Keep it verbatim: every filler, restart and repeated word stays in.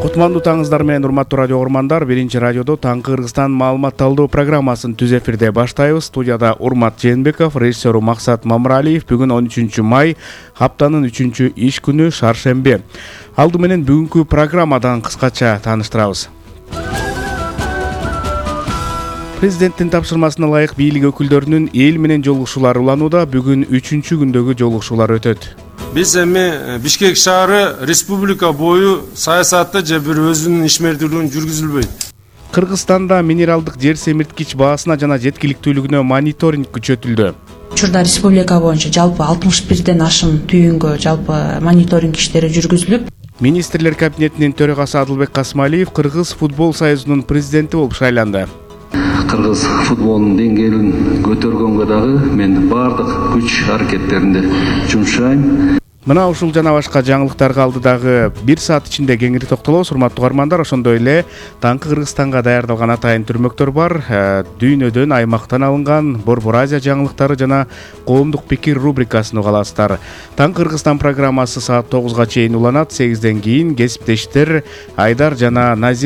Кутмандуу таңыңыздар менен урматтуу радио угармандар, биринчи радиодо Таңкы Кыргызстан маалымат талдоо программасын түз эфирде баштайбыз. Студияда Урмат Жээнбеков, режиссеру Максат Мамыралиев. Бүгүн он үчүнчү май, хаптанын үчүнчү иш күнү, шаршемби. Алды менен бүгүнкү программадан кыскача тааныштырабыз. Президенттин тапшырмасына ылайык бийлик өкүлдөрүнүн эл менен жолугушуулары уланууда. Бүгүн үчүнчү күндөгү жолугушуулар өтөт. Биз эми Бишкек шаары республика бою саясатты же бир өзүнүн ишмердүүлүгүн жүргүзүлбөйт. Кыргызстанда минералдык жер семирткич баасына жана жеткиликтүүлүгүнө мониторинг күчөтүлдү. Учурда республика боюнча жалпы алтымыш бирден ашым түйүнгө жалпы мониторинг иштери жүргүзүлүп. Министрлер кабинетинин төрагасы Адылбек Касмалиев Кыргыз футбол союзунун президенти болуп шайланды. Кыргыз футболунун деңгээлин көтөргөнгө дагы мен бардык күч аракеттеримди жумшайм. Мына ушул жана башка жаңылыктарга алдыдагы бир саат ичинде кеңири токтолобуз. Урматтуу угармандар, ошондой эле Таңкы Кыргызстанга даярдалган атайын түрмөктөр бар. Дүйнөдөн, аймактан алынган Борбор Азия жаңылыктары жана коомдук пикир рубрикасын уга аласыздар. Таңкы Кыргызстан программасы саат тогузга чейин уланат. сегизден кийин кесиптештер Айдар жана Назир